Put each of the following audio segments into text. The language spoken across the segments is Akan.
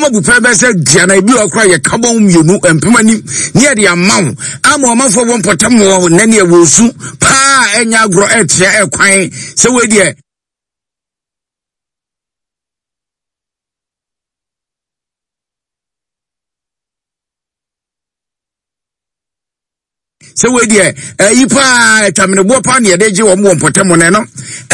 Nneɛma bu pɛ bɛsɛ duana ebi wɔ kora yɛ kabɔn mmienu mpem anim ne yɛde ama wo ama ɔmanfoɔ wɔ mpɔtam wɔ nɛ ne ɛwɔ su paa ɛnyɛ agorɔ ɛkyerɛ ɛkwan sɛ wei deɛ. Sɛ wei deɛ ɛyi paa atwameneboɔ paa ne yɛde gye wɔn wɔ mpɔtam no ɛno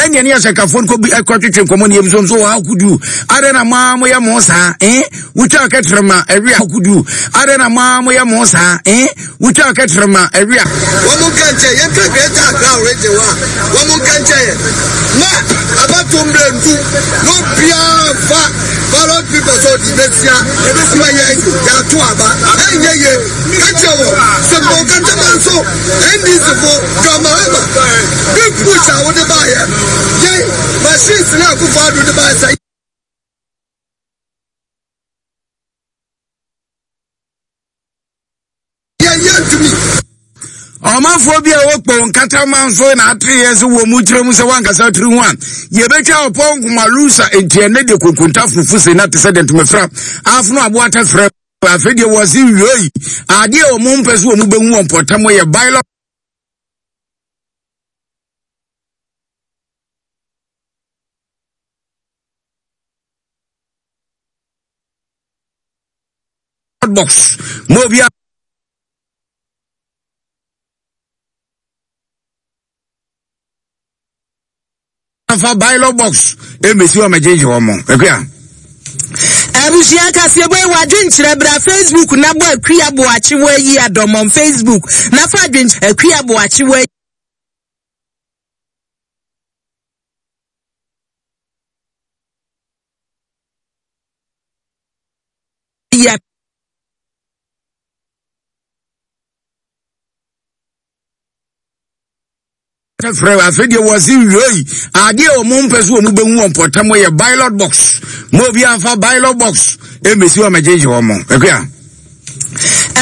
ɛneɛ ne asɛnkafoɔ no kɔbi ɛkɔtwetwe nkɔmmɔ ne yɛbi so nso wɔ akodu adɛn na moa moyɛ mo saa eh wotwa kɛtrɛ ma ɛwe akodu adɛn na moa moyɛ mo saa eh wotwa kɛtrɛ ma ɛwe a wɔn nka nkyɛn yɛn ka Greater Accra region wa wɔn nka nkyɛn yɛn na abato mmerɛ ndu na obiara fa ballot paper sɛ ɔde bɛsia ma yɛn yɛato aba ɛnyɛ yie. Ka kyerɛ wɔn sɛ Bɔnkatama nso NDC fo John Mahama big push a wode baayɛ yɛn machines ne Akufo Addo de baayɛ sɛ yɛn yɛntumi. Ɔmanfoɔ bi a wɔkpɔ nkatama nso na atereɛ sɛ wɔ mu kyerɛ mu sɛ wankasa tiri ho a yɛbɛtwa ɔpɔ nkoma lusa nti ɛnɛ deɛ konkonta fufu se na te sɛ deɛ ntomafira afono aboa tɛfrɛ Afei deɛ wɔse wiei adeɛ a wɔn mpɛ so wɔn bɛhu wɔn mpɔtam yɛ ballot box mo obi a Fa ballot box ɛmɛsi hɔ mɛgyegye wɔn mo akua. Abusua kaseɛbɔ yi w'adwenkyerɛ bra Facebook na bɔ Akua Boakye wɔ ayi adɔmɔm Facebook na fa adwenkyerɛ Akua Boakye wɔ ayi Frɛ afei deɛ wɔse wiei adeɛ a wɔn mpɛ so wɔn bɛhu wɔn mpɔtam yɛ ballot box mo obi anfa ballot box ɛmɛsi wɔn mɛgyegye wɔn mo akua.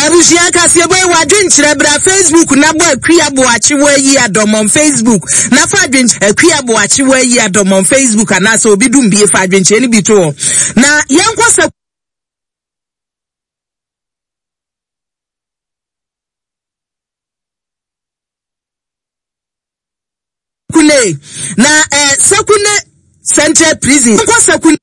Abusua kaseɛbɔ yi w'adwenkyerɛ bra Facebook na bɔ Akua Boakye wɔ ayi adɔmɔm Facebook na fa adwenkyerɛ Akua Boakye wɔ ayi adɔmɔm Facebook anaasɛ obi dum bie fa adwenkyerɛ no bi to hɔ na yɛnkɔ sɛ Kune na eh, Sekune Central Prison. Nkɔ Sekune.